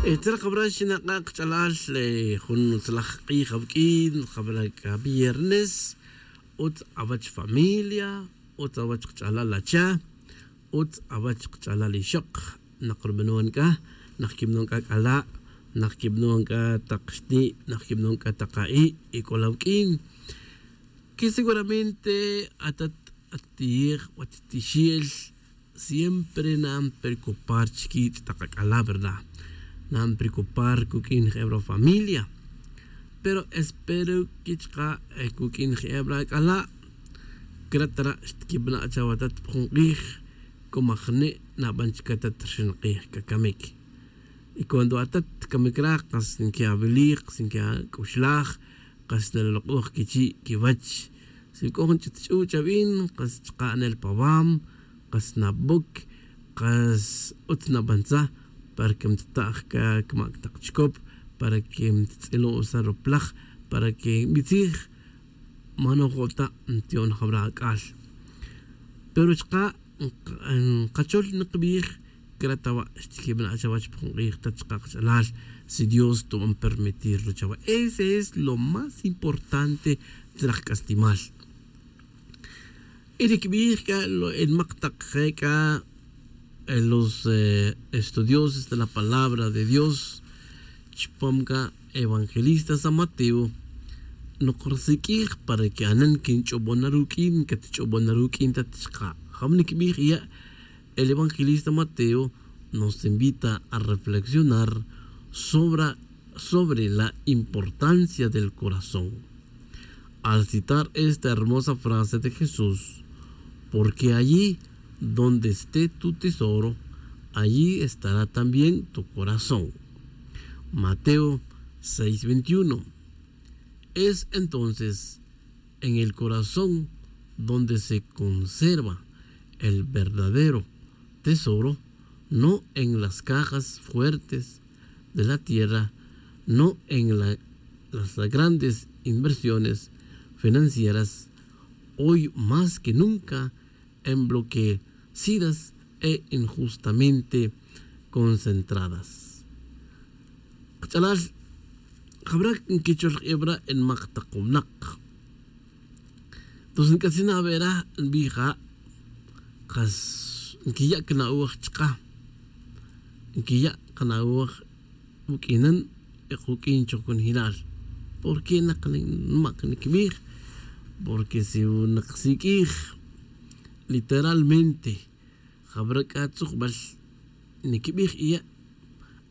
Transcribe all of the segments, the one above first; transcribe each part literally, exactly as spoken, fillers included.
Tzra jabra xinak'a' kach'alal jun utzalaj k'ij awuk'in jabra k'a viernes. Utz awach familia, utz awach kach'alal acha, utz awach kach'alal ixoq. Nak rubanon k'a, nak kibanon k'a k'ala', nak kibanon k'a taq xti', nak kibanon k'a taq a'i' y k'o la wuk'in. Que seguramente atat, atiyej, watitixel, siempre nan preocupar chikich' taq ak'ala', verdad? Nan preocupar kuk'in jebra familia. Pero espero que chaka' kuk'in jebra ak'ala', cretara' xtikibana' chawe atat pa jun k'ij. Como ajne' naban chic atat rixin k'ij cacamic. Y cuando atat camic ra, kas nqui'awilij, kas nqui'ac'uxlaj, kas nalolok'oj quichi' quiwach. Si c'o jun ch'ut ch'u' chaben, kas chaka' nel pawam, kas naboc, kas utz nabantzaj, para que mtita'j ca camac tak chicop, para que mtitz'ilo' sa ruplaj, para que nbitzij, manojo' ta ntiyon jabra ac'al. Pero chaka' nkachol nkbij, cretawa' xtikibana' chawech pa jun k'ij ta chaka' kach'alal, si Dios tuban permitirlo chawe. Ese es lo más importante tzra jk'aslimal. Y nikbij c'a lo el mak tak je c'a los estudioses de la palabra de Dios chupam c'a evangelista san Mateo, nok rsiq'uij para que anan quinch'obon na ruq'uin, catch'obon na ruq'uin ta chaka'. Jabon nikbij ya', el evangelista Mateo nos invita a reflexionar sobre, sobre la importancia del corazón. Al citar esta hermosa frase de Jesús: "Porque allí donde esté tu tesoro, allí estará también tu corazón". Mateo seis veintiuno. Es entonces en el corazón donde se conserva el verdadero tesoro, no en las cajas fuertes de la tierra, no en la, las grandes inversiones financieras, hoy más que nunca enbloquecidas e injustamente concentradas. Kach'alal, jabra nquichol k'ebra' en mak tak winak. Entonces nc'atzin awe' ra nbij ja', kas nquiya' cana'oj chaka, nquiya' cana'oj uq'uinan y kuq'uin choj conojilal. Porque nak mak nquibij, porque si nak siq'uij literalmente jabra c'a tzujbal nquibij iya',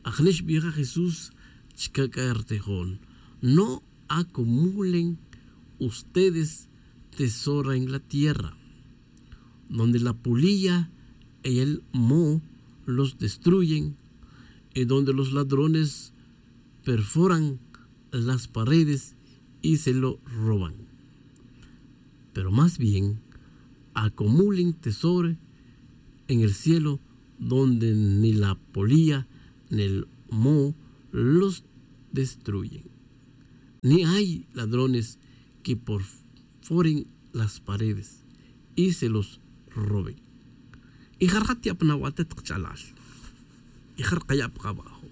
ajne' xbij ja Jesús chaka' c'a rtijon: "No acumulen ustedes tesoro en la tierra, donde la polilla y el moho los destruyen, y donde los ladrones perforan las paredes y se lo roban. Pero más bien acumulen tesoro en el cielo, donde ni la polilla ni el moho los destruyen, ni hay ladrones que perforen las paredes y se los roben". Y ja rija' tiya'pan awatet kach'alal, y ja rija' kaya' pa kabajo.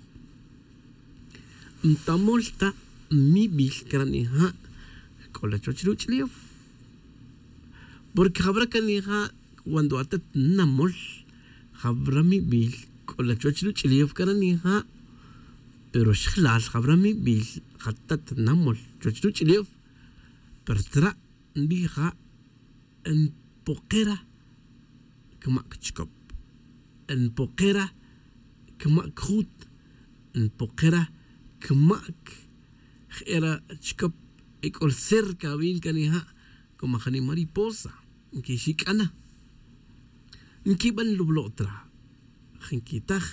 Ntamol ta mibil cara' nija' c'o la chuwech ruch'ulef. Porque jabra cara' nija', cuando atat namol jabra mibil c'o la chuwech ruch'ulef cara' nija'. Pero xjelal jabra mibil jatat namol chuwech ruch'ulef, pero tzra' nbij ja' npokera camac chicop, npokera camac jut, npokera camac je'era chicop. Y c'o cerca awin cara' nija' como jani' mariposa nquixic'ana, nquiban lublo' tra, ja nquitaj,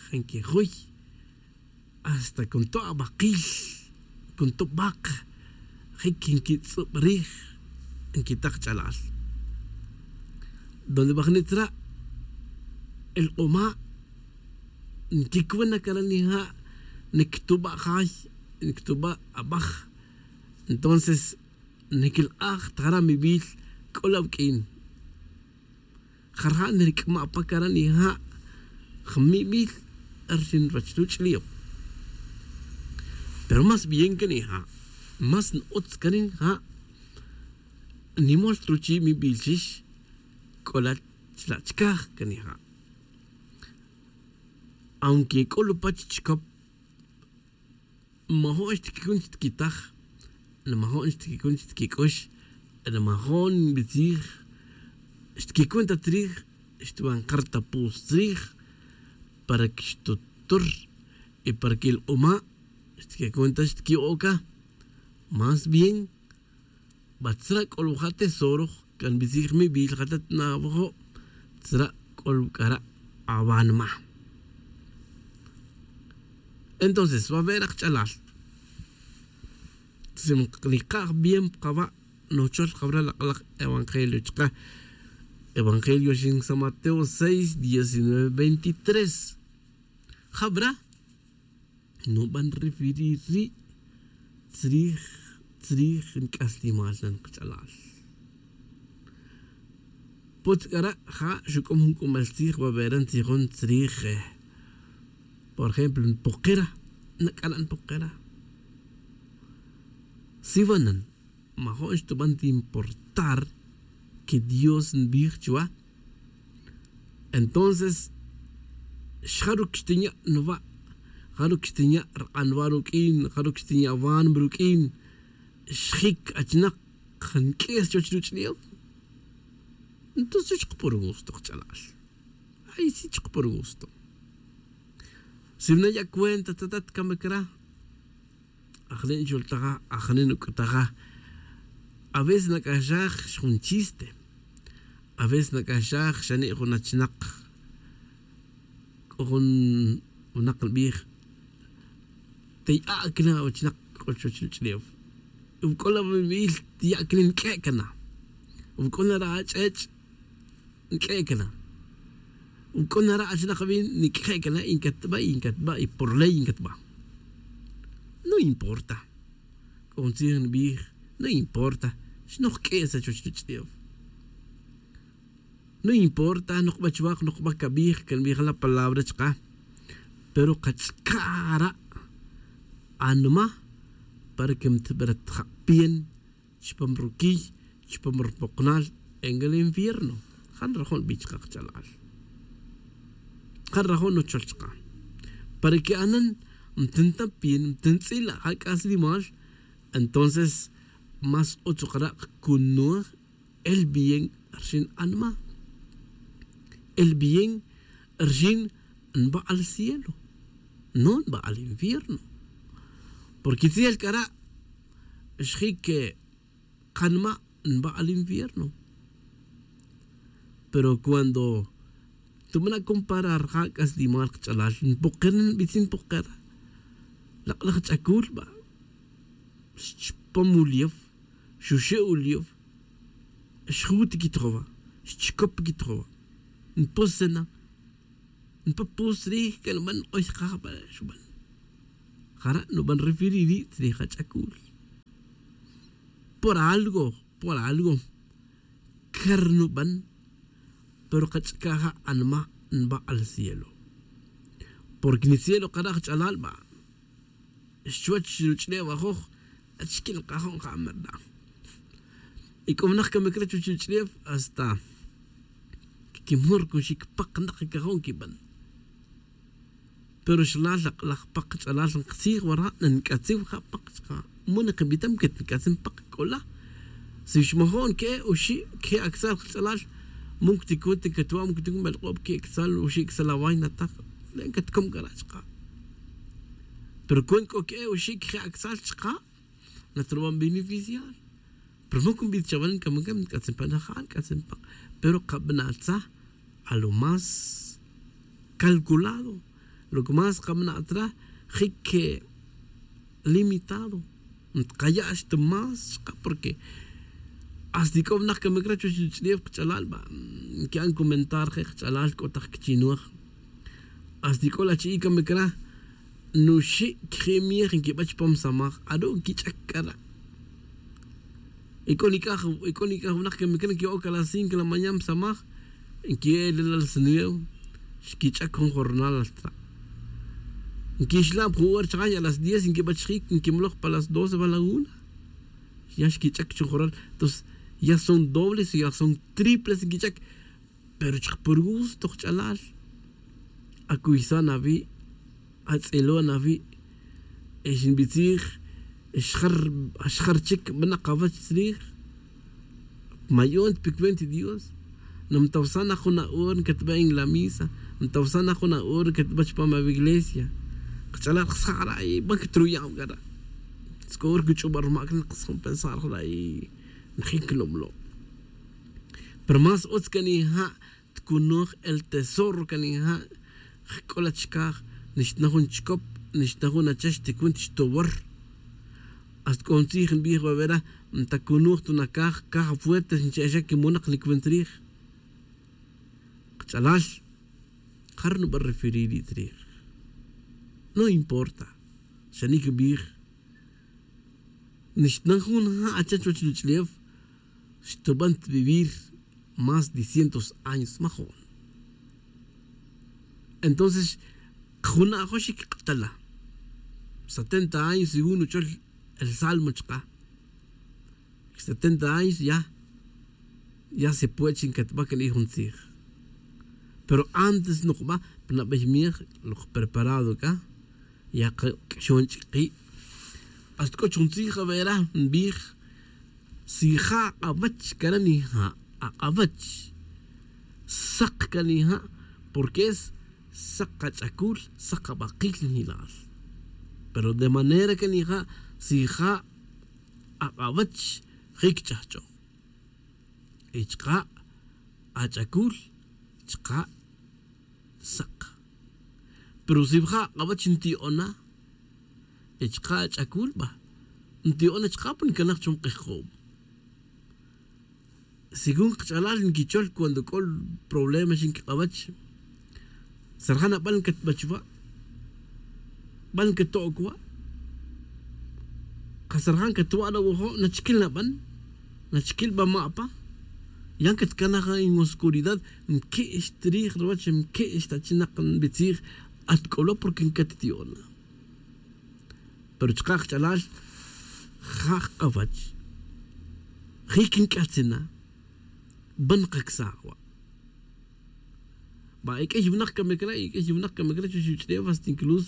ja nquijuy, hasta con to' abakil, con to' bak, je' que nquitz'ub rij, nquitaj ch'alal. Donde bajni' tzra' el k'uma' nquicuna cara' nija', nictuba' jay, nictuba' abaj. Entonces niquilk'aj ta jara' mibil c'o la awuq'uin. Jara' niric'ma' pa cara' nija' jmibil rixin ruwech ruch'ulef. Pero más bien can ija' más n-utz can ija' nimol truchi' mibilxix c'ola chla' chcaj can ija'. Aunque c'o lupach chicop majo'n xtiquicun xtiquitaj, majo'n xtiquicun xtiquic'ux, majo'n nbitzij xtiquicun ta tzrij, xtuban kartapus tzrij para que xtutur y para que el q'uma' xtiquicun ta xtiqui'oca. Más bien ba tzra' c'o luja' tesoro can nbitzij mibil ja ta tnawajo', tzra' c'o luc'ara' awanma. Entonces va a ver ajch'alal si nika' bien pa kaba' nochol jabra lak' lak' evangelio chaka. Evangelio xin san mateo seis diecinueve veintitrés. Jabra nuban referir ri' tzrij tzrij nc'aslimal nan kach'alal. Putz' c'ara' ja' xuc'am jun c'umal tzij babera ntzijon tzrij. Por ejemplo npokera nac'ala' npokera. Siwanan majo'n xtuban ta importar que dios nbij chuwa. Entonces jaruc xtinya' nwa', jaruc xtinya' rk'anwa' ruq'uin, jaruc xtinya' wanma ruq'uin xjic achnak nq'ues chuwech ruch'ulef. Entonces chuk por gusto kach'alal. Ay si chuk por gusto. Si naya' cuenta tatat cama cra ajani' nchultaja ajani' nuc'utaja. A veces nac'axaj xjun chiste. A veces nac'axaj xani' jun achnak c'o jun winak nbij taya' cana awachnak c'o chuwech ruch'ulef. Wi c'o la wibil taya' cana nq'ue' cana. Wi c'o na ra ach'ech' nq'ue' cana. Wi c'o na ra achnak wi nic'je' cana y ncatba' y ncatba' y por ley ncatba'. No importa. C'o jun tzij nbij no importa. Xnoj q'ue' sa chuwech ruch'ulef. No importa nokba chuwak nokba cabij can nbij la palabra chaka. Pero kach'ca' ara' anma para que mtbratja' pien chupam ruquiy chupam rupoknal en el infierno. Jan rajon nbij chaka kach'alal. Jan rajon nuchol chaka para que anan mtinta pien mtintz'ila' ja c'aslimal. Entonces más utz ukara' kcunuj el bien rxin anma. El bien rxin nba' al cielo no nba' al infierno. Porque tzijel c'ara' xjic kanma' nba' al infierno. Pero cuando tubana' comparar ja c'aslimal kach'alal npokera nbitzin npokera. Lak' laj ch'acul ba xchupom ulief xuxe' ulief. Xjut quitjowa xchicop quitjowa npusena npapus rij que nuban k'oy kajba' xuban. Jara' nuban referir ri' tzrij ach'acul. Por algo por algo car nuban. Pero kach'ca' ja' anma' nba' al cielo. Porque ni cielo kara' kach'alal ba xchuwech ruch'ulef ajoj. Achquin kajon ja' merda. Y c'o winak camic re chuwech ruch'ulef hasta quimur cuxic pak nak cajon quiban. Pero xlal lak' laj pak ch'alal nktzij wara' nanc'atziw ja' pak chaka. Mo nikibitam que nc'atzin pak c'ola. Si xmajo'n que'e oxi' que'e acsal kach'alal. Mo ncticun ta ncatwa' mo ncticun belk'ob que'e acsal oxi' acsal awaina tak. Le' ncatcom c'ara' chaka. Pero cuenta c'o que'e oxi' que'e acsal chaka. Natruban beneficiar. Pero mo cunbij chawan camacam nc'atzin pan ajal nc'atzin pan. Pero kabana' tzaj a lo más calculado. Lo que más kabana' tzaj jic limitado. Ntkaya' xta más chaka porque hasta ic'o winak camic re chuwech ruch'ulef kach'alal ba nqui'an comentar je' kach'alal c'o tak quichinuj. Hasta ic'o la chi'i' camic re nuxi' quiji' miej nquiba chupam samaj aru' nquich'ac c'ara'. Ic'o nic'aj ic'o nic'aj winak camic re nqui'oc a las cinco la mañana samaj nqui'e' lelal snuevo. Xquich'ac jun jornal altra'. Nquixla' pa jun hora chaqa' y a las diez nquibach jik nquimloj pa las doce va la una. Ya xquich'ac chun joral. Entonces ya son dobles ya son triples nquich'ac. Pero chik pur gusto kach'alal. Acuysan awi'. Atz'ilon awi'. Xinbitzij. Xjar chic b'ana kawach tzrij. Mayon ta picuenta dios. Namtawsan na jun a'or nkatb'a en la misa. Mtawsan na jun a'or nkatb'a chupam awi' iglesia. Kach'alal ksa' jara' y b'an katruya'm kara'. Tzk'o hora kuch'ub'a' rumak' na ksa' jun pensar jara' y najin klomlo'. Pero más utz kan ija' tkunoj el tesoro kan ija'. Jk'ola chkaj nixta na jun chkop nixta na jun achax tikun tixtowor. Hasta k'o jun tzij nbij va vera. Ntakunoj ta nakaj kaj afuerte nche'exa kimonaq nikwin tzrij. Kach'alal. Jar nub'a referir ri' tzrij? No importa. Xa nik nbij. Nixta na jun ja' acha chuwach nuch'lew. Xtub'an ta vivir más de cientos años majo'n. Entonces jun ajoxik kqtala. Setenta años según nuchol el salmo chqa. Setenta años ya. Ya se puede chi nkatb'a kan ij jun tzij. Pero antes nukb'a pa nab'ey miej luk preparado k'a. Ya qak'ixon ch'iki'. Hasta k'o chi jun tzij avera nbij. Si ja' ak'awach kara' nija' ak'awach. Saq kara' nija'. Porque es saq kach'akul saq kab'aqil njilal. Pero de manera kara' nija' si ja' ak'awach jik ch'ajch'oj. Y chka' ach'akul chka' saq. Pero si ja' ak'awach nti'ona y chka' ach'akul b'a nti'ona chka' pa nkanaj chum q'ijq'ob. Según kach'alal nkichol cuando k'o problema xin kik'awach. Sarjan ab'an katb'ach wa'? B'an kato'ok wa'? Qasarjan katwa' nawojo' nachkil nab'an. Nachkil b'a ma' pa yan katkanaj en oscuridad. Nke'x trij ruwach nke'x ta chinaq nbitzij. Atk'olo' porque nkatti'ona. Pero chka' kach'alal ja' kawach jik nk'atzina. B'an kaksaj wa'. B'a ek'ey winak kamik re' ek'ey winak kamik re' chuwech uch'tew hasta incluso